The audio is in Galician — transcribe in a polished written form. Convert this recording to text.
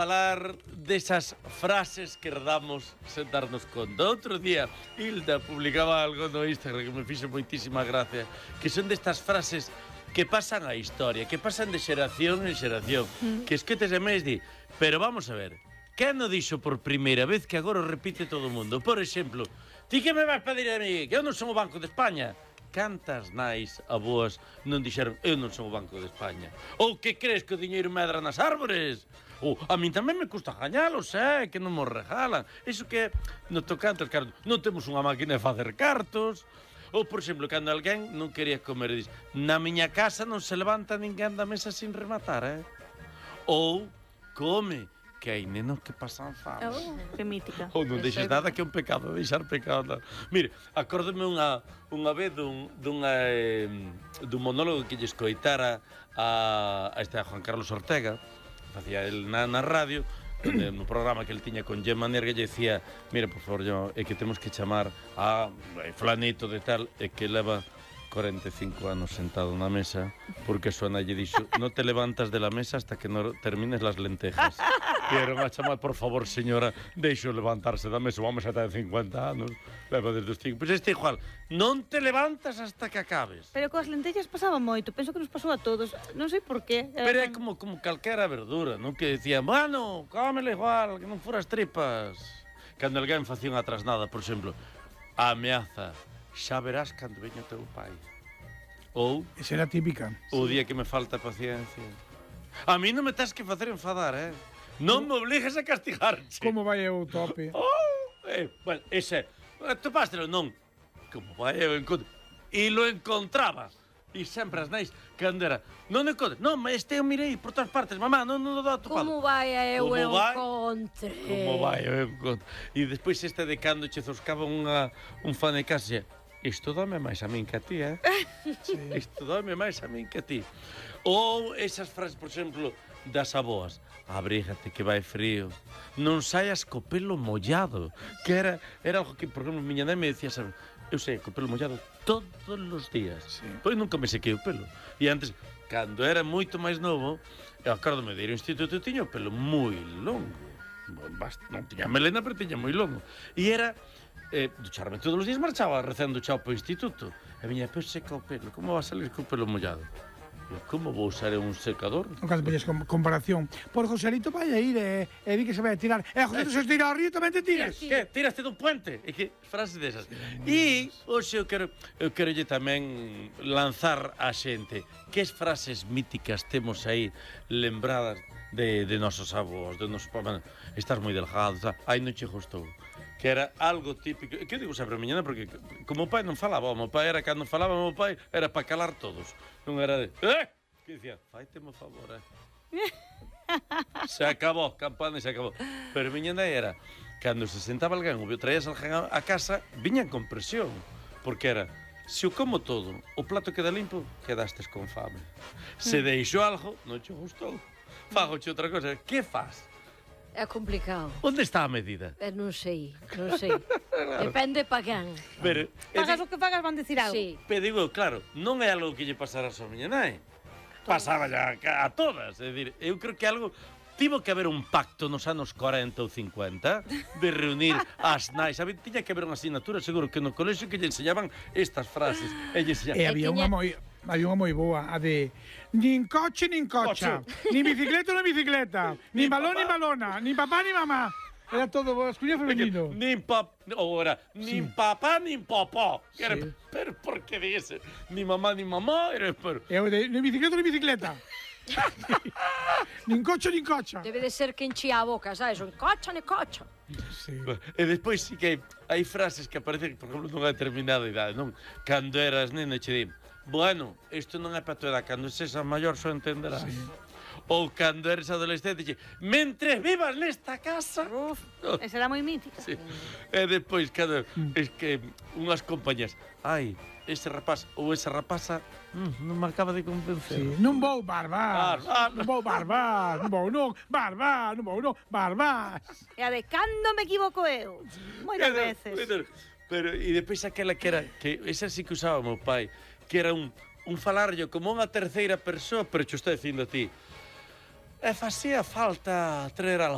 Falar desas frases que herdamos sen darnos conta. Outro día, Hilda publicaba algo no Instagram que me fixo moitísima gracia, que son destas frases que pasan a historia, que pasan de xeración en xeración, que esquetes e mes di, pero vamos a ver, quen o dixo por primeira vez que agora o repite todo o mundo? Por exemplo, ti que me vas pedir a mí, que eu non son o Banco de España? Cantas nais aboas non dixeron eu non son o Banco de España? Ou que crees que o diñeiro medra nas árbores? Ou a min tamén me custa gañalos, que non mo regalan. Iso que no tocante aos cartos, non temos unha máquina de facer cartos. Ou, por exemplo, cando alguén non quería comer, dis, na miña casa non se levanta ninguén da mesa sin rematar, Ou, come, que hai nenos que pasan fame. Oh, que mítica. Ou non deixes nada que é un pecado, deixar pecado. Mire, acórdome unha vez dun monólogo que lle escoitara a Juan Carlos Ortega, facía el na radio, no programa que el tiña con Gemma Nierga, lle decía, mira, por favor, é que temos que chamar a flanito de tal, e que leva 45 anos sentado na mesa, porque a súa nai lle dixo, non te levantas de la mesa hasta que non termines las lentejas. Quero a chamar, por favor, señora, deixo levantarse da mesa, vamos a ter 50 anos, leva desde os 5. Pois este igual, non te levantas hasta que acabes. Pero coas lentellas pasaba moito, penso que nos pasou a todos, non sei por qué. Pero é como calquera verdura, non? Que decían, bueno, cómela igual, que non furas tripas. Cando alguén facía unha trasnada, por exemplo, a ameaza, xa verás cando veña o teu pai. Ou... Esa era típica. O día que me falta paciencia. A mí non me tens que facer enfadar, Non me obligues a castigarche. Como vai o tope? Bueno, ese... Topástelo, non. Como vai eu encontro... E lo encontraba. E sempre as nais, cando era... Non encontro... Non, este eu mirei por todas partes. Mamá, non o dá topado. Como vai eu encontre? Como vai eu encontro? E despois este de cando che zoscaba un fan de casa. Isto dame máis a min que a ti, Sí. Isto dame máis a min que a ti. Ou esas frases, por exemplo, das aboas. Abrígate que vai frío. Non saias co pelo mollado. Que era algo que, por exemplo, miña nai me decía, sabe, eu sei, co pelo mollado todos os días. Sí. Pois nunca me sequei o pelo. E antes, cando era moito máis novo, eu acórdome de ir ao instituto, eu tiña o pelo moi longo. Non tiña melena, pero tiña moi longo. E era... ducharme todos os días, marchaba recén duchado para o instituto. E viña, pero seca o pelo, como va a salir co pelo mollado? Como vou usar un secador? Non cando veñes comparación. Por Joselito vai a ir e di que se vai a tirar. E Joselito se tira ao río tamén te tiras. Que? Tiraste dun puente? E que frases desas. E hoxe eu quero tamén lanzar a xente que frases míticas temos aí lembradas de nosos avós, de nosos papás. Estás moi delgado, ai non che gustou. Que era algo típico, que eu digo sempre a miña nai, porque como o pai non falaba, o meu pai era, cando falaba o meu pai, era para calar todos. Non era de, que dicía, faite mo favor, Se acabou, campana e se acabou. Pero a miña nai era, cando se sentaba alguén, ou traías alguén a casa, viñan con presión, porque era, se o como todo, o plato queda limpo, quedastes con fame. Se deixo algo, non che gustou. Fagoche outra cosa, que faz? É complicado. Onde está a medida? Non sei. Depende pa quen. Pagas o que pagas, van decir algo. Sí. Pero digo, claro, non é algo que lle pasara a miña nai. Pasaba ya a todas. É dicir, eu creo que algo... Tivo que haber un pacto nos anos 40 ou 50 de reunir as nais. Tiña que haber unha asignatura, seguro, que no colexio que lle enseñaban estas frases. E había unha moi boa, a de nin coche nin cocha, nin bicicleta nin bicicleta, nin balón nin balona, nin papá nin mamá. Era todo masculino femenino. Nin papá nin popó. Pero por que dise? Nin mamá nin mamá. Nin bicicleta nin bicicleta. Nin cocho nin cocha. Debe de ser que enchía a boca, sabes? Nin cocha nin cocha. Sí. E despois sí que hai frases que aparecen, por exemplo, nunha determinada idade, non? Cando eras nena che di, bueno, isto non é para tu edad, cando sexas maior só entenderás. Sí. Ou cando eres adolescente che, mentre vivas nesta casa... Uf, esa era moi mítica. Sí. E despois, cando es que unhas compañías, ai, ese rapaz ou esa rapaza non me acaba de convencer. Sí. Non vou barbar. Non vou barbar. Non vou barbar. E a de cando me equivoco eu. Moitas veces. Pero, e despois aquela que era, que esa sí que usaba o meu pai, que era un falarlo como unha terceira persoa, pero che estou dicindo a ti. E facía falta traer algo